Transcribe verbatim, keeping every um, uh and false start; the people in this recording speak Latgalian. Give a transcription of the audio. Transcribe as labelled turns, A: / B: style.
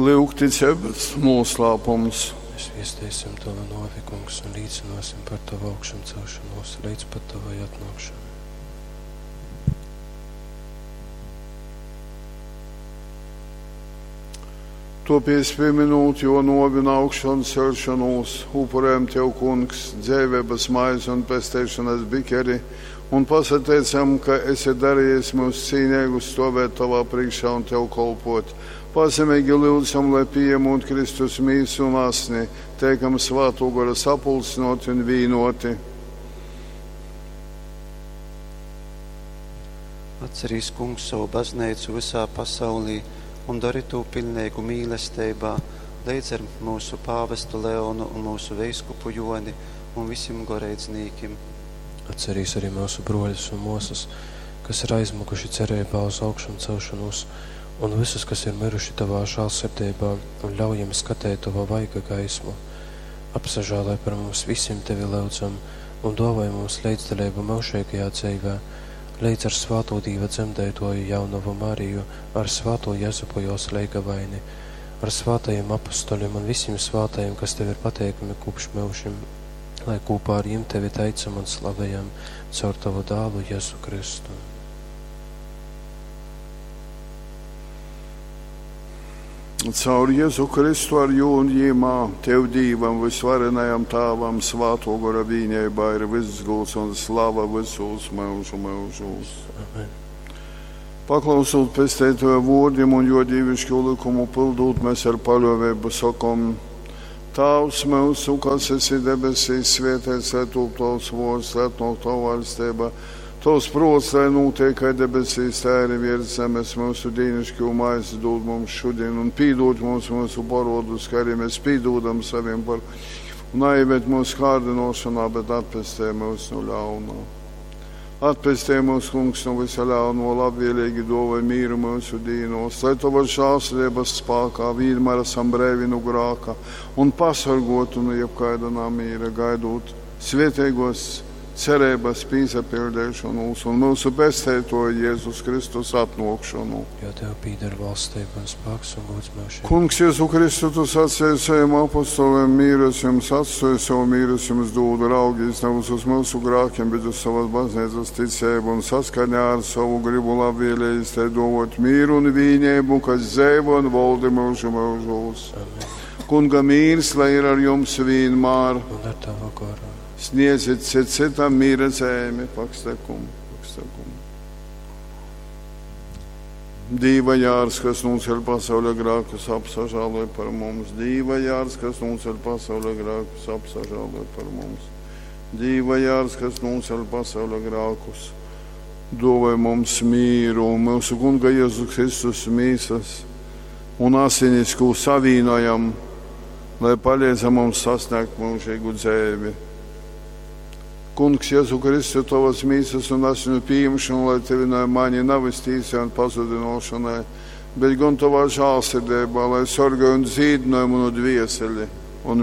A: Lyugticeibas noslēpums.
B: Mēs viesteisim Tavu nōvi, Kungs, un līcināsim par Tavu augšamcelšanos līdz pat Tavai atnākšanai.
A: Topies pieminūt, jo novi un augšanu celšanos, upurējam Tev, Kungs, dzēvības maizi un pesteišanas bikeri, un pasateicam, ka esi darījis mūs cīnīgus stovēt Tavā priekšā un Tev kolpot. Pazemīgi lūdzam, lai pieņemot Kristus mīsu un asni, teikam Svāto Gora sapulcinoti un vīnoti.
C: Atcerīs, Kungs, savu baznīcu visā pasaulī un dari to pilnīgu mīlestībā, līdz ar mūsu pāvestu Leonu un mūsu veiskupu Joni un visiem goreidznīkim.
B: Atcerīs arī mūsu broļus un mosas, kas ir aizmukuši cerībā uz augšamcelšanos, un visus, kas ir miruši Tavā žēlsirdībā, un ļauj jiem skatēt Tava vaiga gaismu. Apsažālai par mums visiem Tevi lūdzam, un dāvāj mums līdzdalību mūžīgajā dzīvē, līdz ar Svāto Dīva dzemdētoju jaunavu Mariju, ar Svāto Jezupu jos leigavaini, ar svātajiem apustoļiem un visiem svātajiem, kas Tev ir pateikami kopš mūžiem, lai kopā ar jiem Tevi teicam un slavējam caur Tavu dālu Jēzu Kristu.
A: Caur Jēzu Kristu ar jū un jīmā, Tev Dīvam, visvarenajam Tāvam, Svāto Gora vīnībā ir viss gūs un slava visos mūžu mūžos.
B: Amen.
A: Paklausot pesteitoja vōrdim un jo dīvišķo likumu pildūt, mēs ar paļāvību sakom: Tāvs mūsu, kas esi debesīs, svētīts lai top tavs vārds, lai atnāk tava valstība. Tavs prāts, lai notiek kā debesīs, tā arī virs zemes. Mūsu dīnišķo maizi dod mums šodien un pīdod mums mūsu parodus, kā arī mēs pīdodam saviem par. Un neieved mūsu kārdinošanā, bet atpestē mūs no ļaunā. Atpestē mūs, Kungs, no visa ļauno, labvēlīgi dāvāj mīru mūsu dīnos, lai Tava žēlsirdības spēkā vienmēr esam brīvi no grāka un pasargotu no jebkāda namīra, gaidot svētīgos cerības pīsapildīšanos un mūsu pesteitoja Jēzus Kristus atnākšanu.
B: Jo Tev pīder valstība un spēks un gods mūžīgi.
A: Kungs, Jēzu Kristu, tu sacīji saviem apostoliem, mīru es jums atstāju, savu mīru es jums dodu, raugīs nevis uz mūsu grākiem, bet uz savas baznīcas ticību un saskaņā ar savu gribu labvēlījis te dovot mīru un vīnību, kas dzēvo un valdi mūžu mūžos.
B: Amen.
A: Kunga mīrs, lai ir ar jums vienmēr.
B: Un ar Tavu goru.
A: Sniedziet cit citam mīra zemi, pakstekumu, pakstekumu. Dīva jārs, kas nūceļ pasaules grākus, apsažāloj par mums. Dīva jārs, kas nūceļ pasaules grākus, apsažāloj par mums. Dīva jārs, kas nūceļ pasaules grākus, dāvāj mums mīru un mūsu Kunga Jēzus Kristus mīsas un asinis, ko savīnojam, lai palīdz mums sasniegt mūžīgu dzīvi. Kungs, Jēzu Kristu, tavas mīsas un asinu pieņemšanu, lai tevi no mani nav iztīsai un pazudinošanai, bet gan tavā žēlsirdībā, lai sargāj un dzīdināj manu dvieseli un